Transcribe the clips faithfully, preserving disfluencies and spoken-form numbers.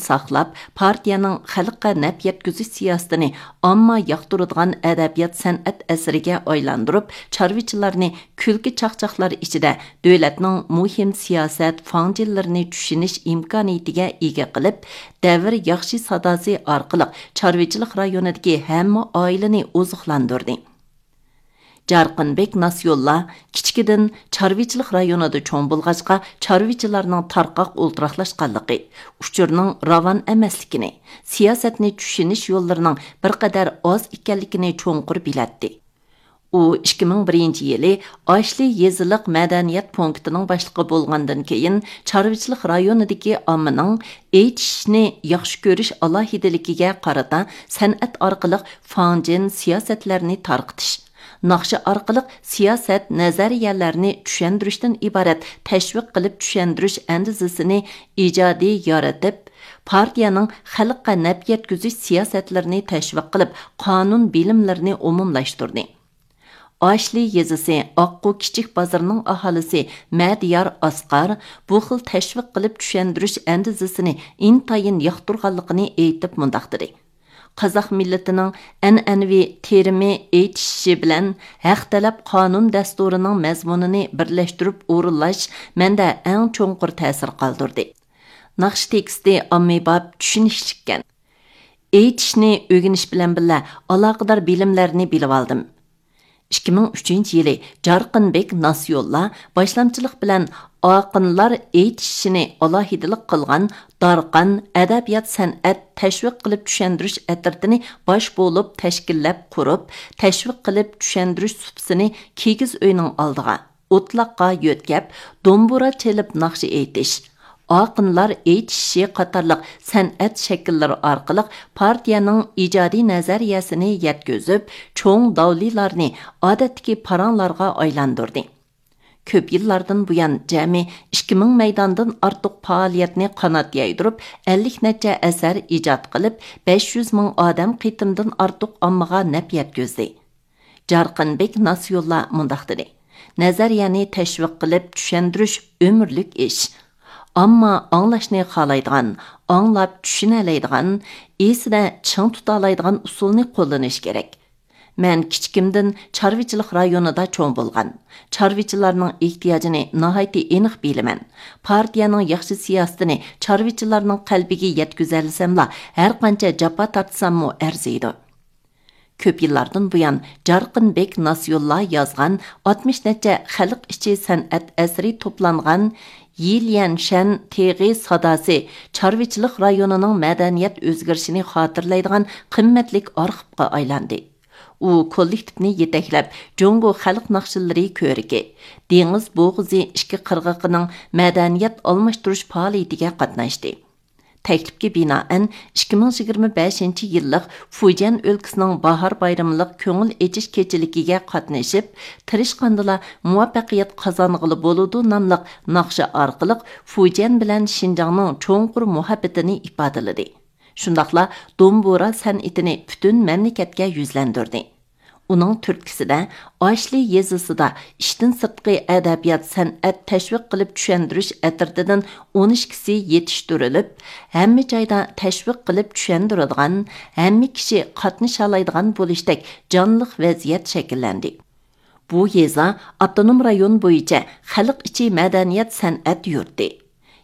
ساقلاپ، پارتىيەنىڭ خەلققە نەپ يەتكۈزۈش سىياسىتىنى ئامما ياقتۇرىدىغان ئەدەبىيات سەنئەت ئەسىرىگە ئايلاندۇرۇپ، چارۋىچىلارنى كۈلكە چاقچاقلار ئىچىدە دۆلەتنىڭ مۇھىم سىياسەت فاڭجېنلىرىنى چۈشىنىش ئىمكانىيىتىگە ئىگە قىلىپ، دەۋر ياخشى ساداسى ئارقىلىق چارۋىچىلىق رايونىدىكى ھەممە ئائىلىنى ئوزۇقلاندۇردى. جارقىنبېك ناسىيوللا كىچىكىدىن چارۋىچىلىق رايونىدا چوڭ بولغاچقا، چارۋىچىلارنىڭ تارقاق ئولتۇراقلاشقانلىقى، ئۇچۇرنىڭ راۋان ئەمەسلىكىنى، سىياسەتنى چۈشىنىش يوللىرىنىڭ بىر قەدەر ئاز ئىكەنلىكىنى چوڭقۇر بىلەتتى. ئۇ ئىككى مىڭ بىرىنچى يىلى ئاشلى يېزىلىق مەدەنىيەت پونكىتىنىڭ باشلىقى بولغاندىن كېيىن، چارۋىچىلىق رايونىدىكى ئاممىنىڭ ئېيتىشنى ياخشى كۆرۈش ئالاھىدىلىكىگە قارىتا سەنئەت ئارقىلىق فاڭجېن سىياسەتلەرنى تارقىتىش، ناخشا ئارقىلىق سىياسەت نەزەرىيەلەرنى چۈشەندۈرۈشتىن ئىبارەت تەشۋىق قىلىپ چۈشەندۈرۈش ئەندىزىسىنى ئىجادىي يارىتىپ، پارتىيەنىڭ خەلققە نەپ يەتكۈزۈش سىياسەتلىرىنى تەشۋىق قىلىپ، قانۇن بىلىملىرىنى ئومۇملاشتۇردى. ئاشلى يېزىسى ئاققۇ كىچىك بازىرىنىڭ ئاھالىسى مەدىيار ئاسقار بۇ خىل تەشۋىق قىلىپ چۈشەندۈرۈش ئەندىزىسىنى ئىنتايىن ياقتۇرغانلىقىنى ئېيتىپ مۇنداق دېدى: قازاق مىللىتىنىڭ ئەنئەنىۋى تېرىمى ئېيتىشىشى بىلەن ھەق تەلەپ قانۇن دەستۇرىنىڭ مەزمۇنىنى بىرلەشتۈرۈپ ئورۇنلاش مەندە ئەڭ چوڭقۇر تەسىر قالدۇردى. ناخشا تېكىستى ئاممىباب، چۈشىنىشلىككەن. ئېيتىشنى ئۆگىنىش بىلەن بىللە ئالاقىدار بىلىملەرنى بىلىۋالدىم. ئىككى مىڭ ئۈچىنچى يىلى جارقىنبېك ناسىيوللا باشلامچىلىق بىلەن ئاقىنلار ئېيتىشىشىنى ئالاھىدىلىك قىلغان دارقان ئەدەبىيات سەنئەت تەشۋىق قىلىپ چۈشەندۈرۈش ئەترىتىنى باش بولۇپ تەشكىللەپ قۇرۇپ، تەشۋىق قىلىپ چۈشەندۈرۈش سۇپىسىنى كىگىز ئۆينىڭ ئالدىغا، ئوتلاققا يۆتكەپ، دومبۇرا چېلىپ ناخشا ئېيتىش، ئاقىنلار ئېيتىشىشى قاتارلىق سەنئەت شەكىللىرى ئارقىلىق پارتىيەنىڭ ئىجادىي نەزەرىيەسىنى يەتكۈزۈپ، چوڭ داۋلىلارنى ئادەتتىكى پاراڭلارغا ئايلاندۇردى. كۆپ يىللاردىن بۇيان جەمئىي ئىككى مىڭ مەيداندىن ئارتۇق پائالىيەتنى قانات يايدۇرۇپ، ئەللىك نەچچە ئەسەر ئىجاد قىلىپ، بەش يۈز مىڭ ئادەم قېتىمدىن ئارتۇق ئاممىغا نەپ يەتكۈزدى. جارقىنبېك ناسىيوللا مۇنداق دېدى: نەزەرىيەنى تەشۋىق قىلىپ چۈشەندۈرۈش ئۆمۈرلۈك ئىش. ئامما ئاڭلاشنى خالايدىغان، ئاڭلاپ چۈشىنەلەيدىغان، ئېسىدە چىڭ تۇتالايدىغان ئۇسۇلنى قوللىنىش كېرەك. مەن كىچىكىمدىن چارۋىچىلىق رايونىدا چوڭ بولغان، چارۋىچىلارنىڭ ئېھتىياجىنى ناھايىتى ئېنىق بىلىمەن. پارتىيەنىڭ ياخشى سىياسىتىنى چارۋىچىلارنىڭ قەلبىگە يەتكۈزەلىسەملا، ھەرقانچە جاپا تارتساممۇ ئەرزىيدۇ. كۆپ يىللاردىن بۇيان جارقىنبېك ناسىيوللا يازغان ئاتمىش نەچچە خەلق ئىچى سەنئەت ئەسىرى توپلانغان يىليەنشەن تېغى ساداسى چارۋىچىلىق رايونىنىڭ مەدەنىيەت ئۆزگىرىشىنى خاتىرىلەيدىغان قىممەتلىك ئارخىپقا ئايلاندى. ئۇ كوللېكتىپنى يېتەكلەپ، جۇڭگو خەلق ناخشىلىرى كۆرىكى، دېڭىز بوغۇزى ئىككى قىرغىقىنىڭ مەدەنىيەت ئالماشتۇرۇش پائالىيىتىگە قاتناشتى. تەكلىپكە بىنائەن، ئىككى مىڭ يىگىرمە بەشىنچى يىللىق فۇجيەن ئۆلكىسىنىڭ باھار بايرىملىق كۆڭۈل ئېچىش كېچىلىكىگە قاتنىشىپ، تىرىشقاندىلا مۇۋەپپەقىيەت قازانغىلى بولىدۇ ناملىق ناخشا ئارقىلىق فۇجيەن بىلەن شىنجاڭنىڭ چوڭقۇر مۇھەببىتىنى ئىپادىلىدى. شۇنداقلا دومبۇرا سەنئىتىنى پۈتۈن مەملىكەتكە يۈزلەندۈردى. ئۇنىڭ تۈرتكىسىدە، ئاشلى يېزىسىدا ئىشتىن سىرتقى ئەدەبىيات سەنئەت تەشۋىق قىلىپ چۈشەندۈرۈش ئەترىتىدىن ئون ئىككىسى يېتىشتۈرۈلۈپ، ھەممە جايدا تەشۋىق قىلىپ چۈشەندۈرىدىغان، ھەممە كىشى قاتنىشالايدىغان بولۇشتەك جانلىق ۋەزىيەت شەكىللەندى. بۇ يېزا ئاپتونوم رايون بويىچە خەلق ئىچى مەدەنىيەت سەنئەت يۇرتى،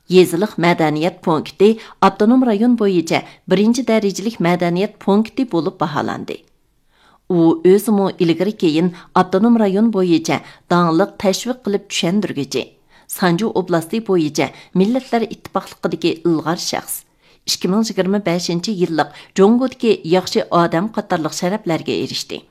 يېزىلىق مەدەنىيەت پونكىتى ئاپتونوم رايون بويىچە بىرىنچى دەرىجىلىك مەدەنىيەت پونكىتى بولۇپ باھالاندى. ئۇ ئۆزىمۇ ئىلگىرى كېيىن ئاپتونوم رايون بويىچە داڭلىق تەشۋىق قىلىپ چۈشەندۈرگۈچى، سانجۇ ئوبلاستى بويىچە مىللەتلەر ئىتتىپاقلىقىدىكى ئىلغار شەخس، ئىككى مىڭ يىگىرمە بەشىنچى يىللىق جۇڭگودىكى ياخشى ئادەم قاتارلىق شەرەپلەرگە ئېرىشتى.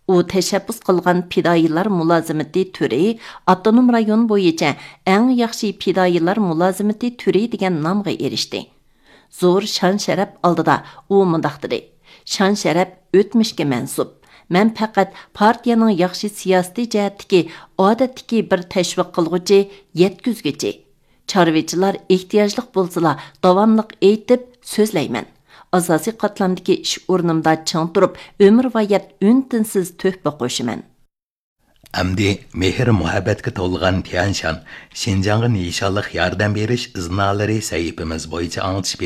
ئۇ تەشەببۇس قىلغان پىدائىيلار مۇلازىمىتى تۈرى ئاپتونوم رايون بويىچە ئەڭ ياخشى پىدائىيلار مۇلازىمىتى تۈرى دېگەن نامغا ئېرىشتى. زور شان-شەرەپ ئالدىدا ئۇ مۇنداق دېدى: شان-شەرەپ ئۆتمۈشكە مەنسۇپ. مەن پەقەت پارتىيەنىڭ ياخشى سىياسىتى جەھەتتىكى ئادەتتىكى بىر تەشۋىق قىلغۇچى، يەتكۈزگۈچى. چارۋىچىلار ئېھتىياجلىق بولسىلا، داۋاملىق ئېيتىپ سۆزلەيمەن. ئاساسىي قاتلامدىكى ئىش ئورنۇمدا چىڭ تۇرۇپ، ئۆمۈرۋايەت ئۈن-تىنسىز تۆھپە قوشىمەن. ئەمدى مېھىر-مۇھەببەتكە تولغان تيەنشان، شىنجاڭغا نىشانلىق ياردەم بېرىش ئىزنالىرى سەھىپىمىز بويىچە ئاڭلىتىش بېرىمىز.